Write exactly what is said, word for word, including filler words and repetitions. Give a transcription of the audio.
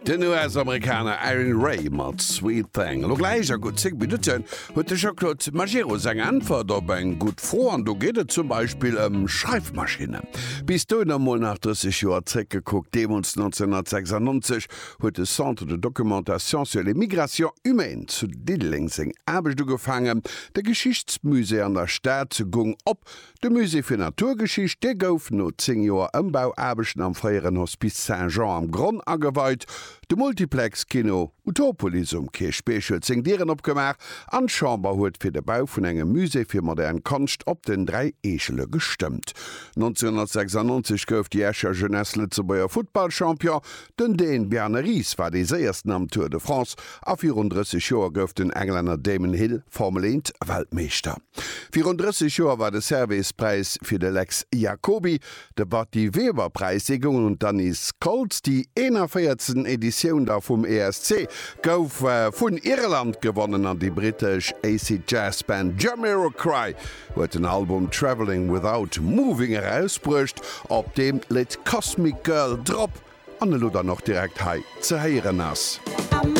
Den US-Amerikaner Aaron Ray mat Sweet Thing. Elo gläich a gutt zéng Minutten huet de Jean-Claude Majerus eng Äntwert op eng gutt Fro an do geet et zum Beispill ëm Schreifmaschinnen. Bis dohinner mol nach drësseg Joer zréckgekuckt, Deemools nonzénhunnertsechsannonzeg huet de Centre de documentation sur les migrations humaines zu Diddeleng seng Aarbecht ugefaangen, de Geschichtsmusée an der Stad gung op, de Musée fir Naturgeschicht, dee gouf no zéng Joer Ëmbauaarbechten am fréieren Hospice Saint-Jean am Gronn ageweit, de Multiplex-Kino Utopolis um Kierchbierg huet seng Dieren opgemaach an d'Chamber huet fir de Bau vun engem Musée fir modern Konscht op den Dräi Eechele gestëmmt. nonzénhunnertsechsannonzeg gouf déi Escher Jeunesse Lëtzebuerger Futtballchampion, den Dän Bjarne Riis war dee séiersten am Tour de France a virun drësseg Joer gouf den Englänner Damon Hill Formel eent Weltmeeschter. Virun drësseg Joer war de Servais-Präis fir de Lex Jacoby, de Batty Weber-Präis, dee goung un d'Anise Koltz. Déi eenanvéierzegsten Editioun da vum E S C gouf vun Irland gewonnen an déi brittesch Acid Jazz Band Jamiroquai huet den Album Traveling Without Moving erausbruecht, op deem d'Lidd Cosmic Girl drop an elo dann och direkt hei ze héieren ass.